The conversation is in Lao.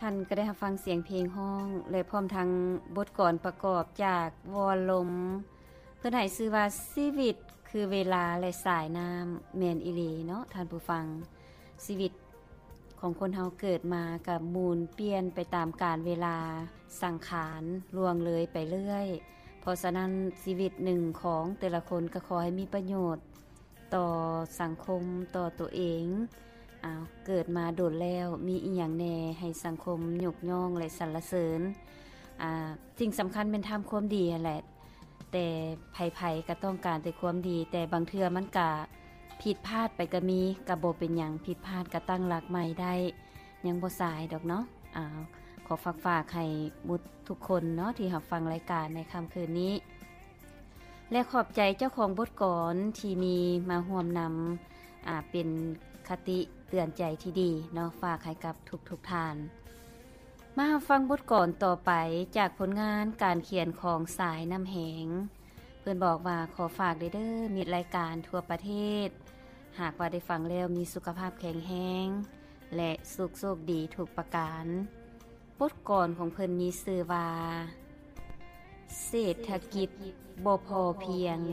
ທ່ານກໍໄດ້ຮັບຟັງສຽງເພງຮ້ອງ ແລະ ພ້ອມທັງບົດກອນປະກອບຈາກວອນລົມ ເພິ່ນໃຫ້ຊື່ວ່າ ຊີວິດຄືເວລາ ແລະ ສາຍນ້ຳ. ແມ່ນອີ່ຫຼີເນາະທ່ານຜູ້ຟັງ, ຊີວິດຂອງຄົນເຮົາເກີດມາກໍໝູນປ່ຽນໄປຕາມການເວລາ, ສັງຂານລ່ວງເລີຍໄປເລື້ອຍ. ເພາະສະນັ້ນ ຊີວິດໜຶ່ງຂອງແຕ່ລະຄົນກໍຂໍໃຫ້ມີປະໂຫຍດ ຕໍ່ສັງຄົມ, ຕໍ່ຕົວເອງ. ອ້າວ ເກີດມາດົນແລ້ວ ມີອີ່ຫຍັງແດ່ໃຫ້ສັງຄົມຍົກຍ້ອງ ແລະ ສັນລະເສີນ? ອາ ສິ່ງສຳຄັນແມ່ນທຳຄວາມດີຫັ້ນແຫຼະ. ແຕ່ໃຜໆກໍຕ້ອງການແຕ່ຄວາມດີ, ແຕ່ບາງເທື່ອມັນກະຜິດພາດໄປກໍມີ, ກໍບໍ່ເປັນຫຍັງ, ຜິດພາດກໍຕັ້ງຫຼັກໃໝ່ໄດ້, ຍັງບໍ່ສາຍດອກເນາະ. ອາ ຂໍຝາກ ຝາກໃຫ້ໝົດທຸກຄົນເນາະ ທີ່ຮັບຟັງລາຍການໃນຄ່ຳຄືນນີ້. ແລະ ຂອບໃຈເຈົ້າຂອງບົດກອນທີ່ມີມາຮ່ວມນຳ ອາ ເປັນຄະຕິເຕືອນໃຈທີ່ດີເນາະ ຝາກໃຫ້ກັບທຸກໆທ່ານ. ມາຮັບຟັງບົດກອນຕໍ່ໄປຈາກຜົນງານການຂຽນຂອງສາຍນ້ຳແຫງ. ເພິ່ນບອກວ່າ ຂໍຝາກເດີ ມິດລາຍການທົ່ວປະເທດ, ຫາກວ່າໄດ້ຟັງແລ້ວມີສຸຂະພາບແຂງແຮງ ແລະ ສຸກໂຊກດີທຸກປະການ. ບົດກອນຂອງເພິ່ນມີຊື່ວ່າ ເສດຖະກິດບໍ່ພໍພຽງ